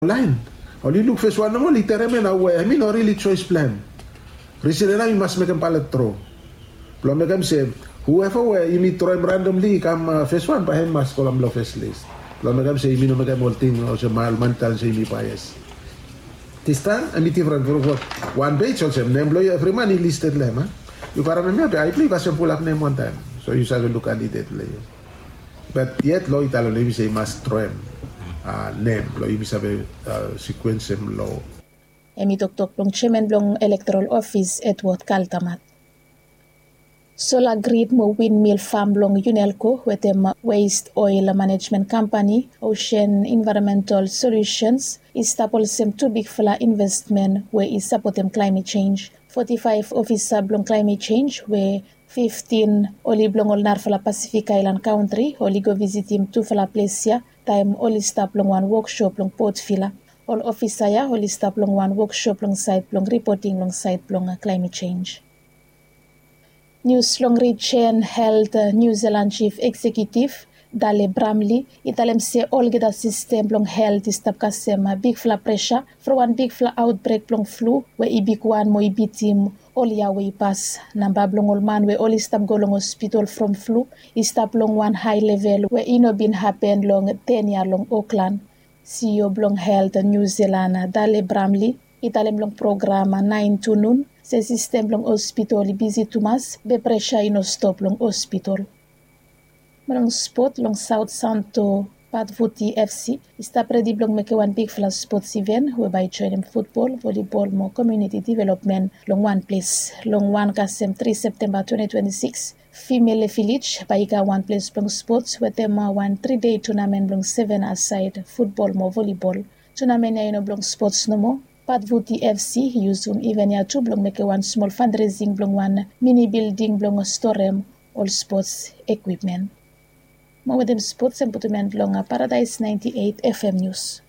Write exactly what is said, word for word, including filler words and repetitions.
laen. Oli luk fes wan nomo oli terem ya nao we em i no rili joes blong em. Risen ya nao i mas mekem balet dro blong mekem se hueva we yumi droem randomli i kam fes wan bae em i mas go long long fes lis blong mekem se yumi no mekem ol ting olsem ol man i talem se yumi baes. Distaem em i difren from wan pej olsem nem blong yu evri man i listed long em a yu karem em ya be ai blong yu kasem pulap nem wantaem. So yu save luk kandidet blong yu. Bat yet lo i talem long yumi se i mas droem nem blong yumi save sikuensem lo. Em i toktok blong jeaman blong elektoral ofis Edward Kaltamat. Sola grid mo windmil fam blong Unelco wetem Waste Oil Management Company, Ocean Environmental Solutions, i stap olsem tu bigfala investmen we i sapotem climate change. Foti faef ofisa blong climate change we fiftin oli blong ol narafala Pasifik aelan kantri oli go visitim tufala ples ya taem oli stap long wan wokshop long Port Vila. Ol ofisa ya oli stap long wan wokshop long saed blong ripoting long saed blong climate change. Nius long rijen helt Niu Zilan jif eksekiutif Dale Bramli i talem se olgeta sistem blong helt i stap kasem bigfala presa from wan bigfala aotbrek blong flu we i bigwan mo i bitim ol yia we i pas. Namba blong ol man we oli stap go long hospital from flu i stap long wan hae level we i no bin hapen long ten yia long Oklan. Sio blong helt Niu Zilan Dale Bramli i talem long program naen tu nun se sistem blong hospital i bisi tumas be presa i no stop long hospital. Mo long spot long Saot Santo Patvuti FC i stap redi blong mekem wan bigfala spots iven we bae i joenem futbol, volibol mo komiuniti developmen long wan ples. Long wan kasem tri Septemba twenti twenti sikis, Fimele Vilej bae i kam wan ples blong spots wetem wan tri dei tunamen blong seven asaed futbol mo volibol. Tunamen ya i no blong spots nomo. Patvuti FC i yusum iven ya tu blong mekem wan smol fandresing blong wan mini bilding blong storem ol spots ekwipmen. Mo wetem spots em putum en long Paradaes naenti eit FM Nius.